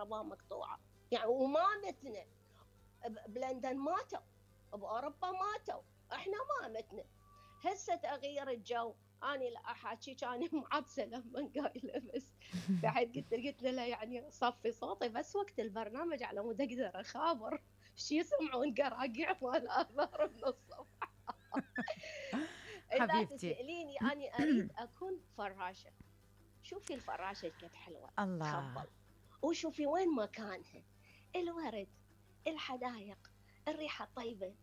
الكهرباء مقطوعة. يعني وما متنا، بلندن ماتوا، بأوروبا ماتوا، احنا ما متنا. هسه تغيير الجو، أنا لا أحاكيك، أنا معبسة لما قايلة، بس بعد قلت له يعني صفي صوتي بس وقت البرنامج على مود أقدر أخابر شي يسمعون قراقيع مال آثار من الصبح. إذا تسأليني أنا أريد أكون فراشة. شوفي الفراشة كيف حلوة، تخبل، وشوفي وين مكانها، الورد، الحدائق، الريحة الطيبة،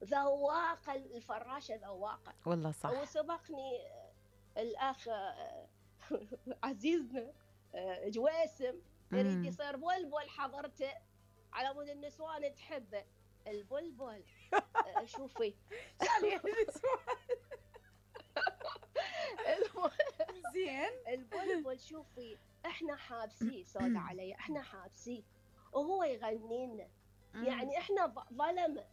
ذواقة الفراشة، ذواقة والله صح. وسبقني الأخ عزيزنا جويسم يريد يصير بلبل، حضرته على مود النسوان تحبه البلبل. شوفي زين البلبل، شوفي احنا حابسيه، سود علي، احنا حابسيه وهو يغني لنا. يعني احنا ظلمه.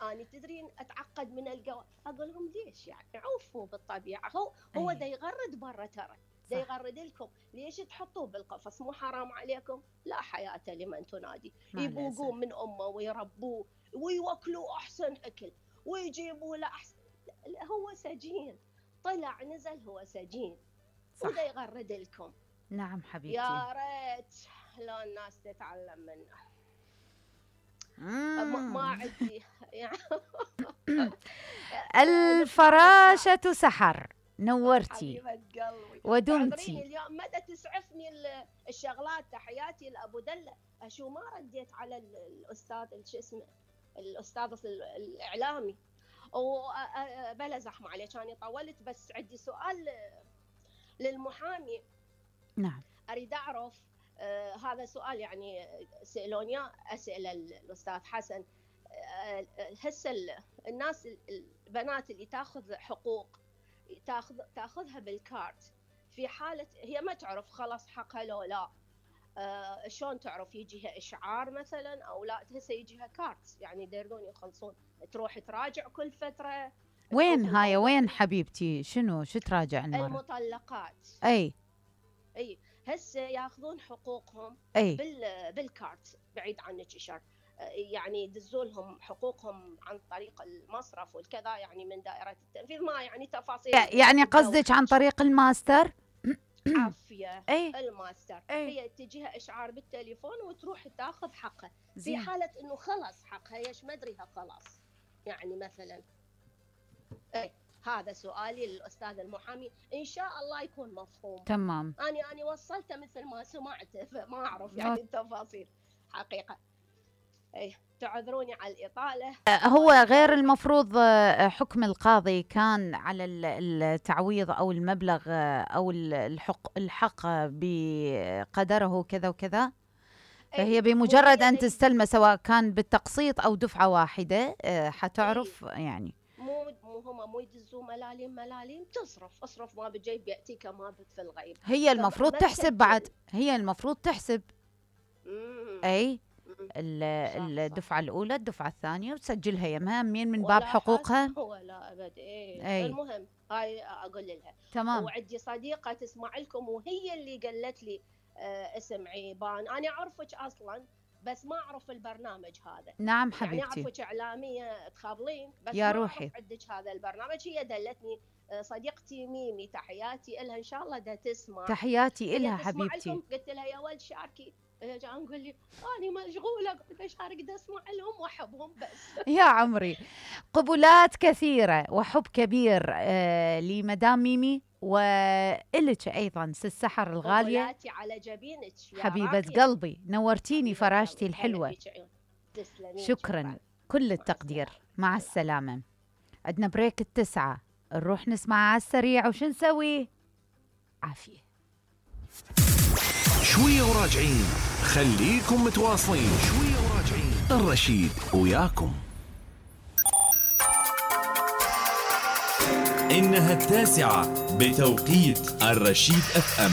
أنا تدرين أتعقد من الجو، أقول لهم ليش يعني عوفوا بالطبيعة، هو دا يغرد برا، ترى دا يغرد لكم، ليش تحطوه بالقفص؟ مو حرام عليكم؟ لا حياة لمن تنادي. يبوقوه من أمه ويربوه ويوكلوه أحسن أكل ويجيبوه له أحسن. هو سجين، طلع نزل هو سجين، ودا يغرد لكم. نعم حبيبتي. يا ريت لو الناس تتعلم منه. ما عندي يعني. الفراشة سحر، نورتي حبيبة قلبي ودمتي. اليوم مدى تسعفني الشغلات. تحياتي لأبو دلة. أشو ما رديت على الأستاذ شو اسمه، الأستاذ الإعلامي، وبلا زحمة عليك أنا طولت، بس عندي سؤال للمحامي. نعم. أريد أعرف هذا سؤال يعني سألوني أسأل الأستاذ حسن. هسه الناس البنات اللي تاخذ حقوق تاخذها بالكارت، في حالة هي ما تعرف خلاص حقها لو لا، شلون تعرف؟ يجيها إشعار مثلا أو لا؟ هسه يجيها كارت، يعني يقدرون يخلصون، تروح تراجع كل فترة. وين هاي وين حبيبتي؟ شو تراجع المرة؟ المطلقات. أي هسه ياخذون حقوقهم بالكارت بعيد عنك إشار، يعني يدزوا لهم حقوقهم عن طريق المصرف والكذا، يعني من دائرة التنفيذ، ما يعني تفاصيل. يعني قصدك عن طريق الماستر؟ عافية. الماستر هي تجيها إشعار بالتليفون وتروح تاخذ حقها. في حالة إنه خلص حقها، يش مدريها خلاص، يعني مثلا. هذا سؤالي للأستاذ المحامي، إن شاء الله يكون مفهوم. تمام. أنا وصلته مثل ما سمعته، فما أعرف يعني التفاصيل حقيقة. تعذروني على الإطالة. هو غير المفروض حكم القاضي كان على التعويض أو المبلغ أو الحق بقدره كذا وكذا، فهي بمجرد أن تستلمه سواء كان بالتقسيط أو دفعة واحدة حتعرف. يعني مو يدزوا ملاليم، اصرف ما بالجيب يأتيك ما في الغيب. هي المفروض تحسب بعد، هي المفروض تحسب أي الدفعة الأولى، الدفعة الثانية، وتسجلها يمها من باب حقوقها. ولا أبد. المهم هاي أقول لها. تمام. وعندي صديقة تسمع لكم، وهي اللي قالت لي اسم عيبان. أنا أعرفك أصلا بس ما أعرف البرنامج هذا. نعم حبيبتي. يعني أعرفك إعلامية تخابلين بس يا ما روحي أعرف عندك هذا البرنامج. هي دلتني صديقتي ميمي، تحياتي إلها، إن شاء الله دا تسمع. تحياتي إلها حبيبتي. قلت لها يا ولد شاركي، جاء نقول لي أنا مشغولة، قلت له شارك دا أسمع لهم وأحبهم بس. يا عمري قبلات كثيرة وحب كبير لمدام ميمي، وإلك أيضا سحر الغالية. قبلاتي على جبينك حبيبة قلبي، نورتيني فراشتي الحلوة. شكرا، كل التقدير. مع السلامة. عندنا بريك 9، نروح نسمع على السريع وش نسوي؟ عافية. شوية وراجعين، خليكم متواصلين. شوية وراجعين، الرشيد وياكم. إنها 9 بتوقيت الرشيد FM.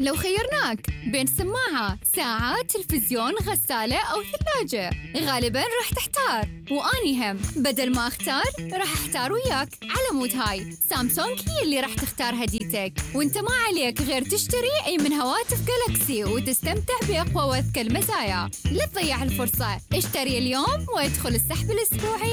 لو خيرناك بين سماعة، ساعة، تلفزيون، غسالة أو ثلاجة، غالباً راح تحتار، وأني هم بدل ما أختار راح أحتار وياك. على مود هاي سامسونج هي اللي راح تختار هديتك، وانت ما عليك غير تشتري أي من هواتف جالاكسي وتستمتع بأقوى وأذكى المزايا. لا تضيع الفرصة، اشتري اليوم وادخل السحب الأسبوعي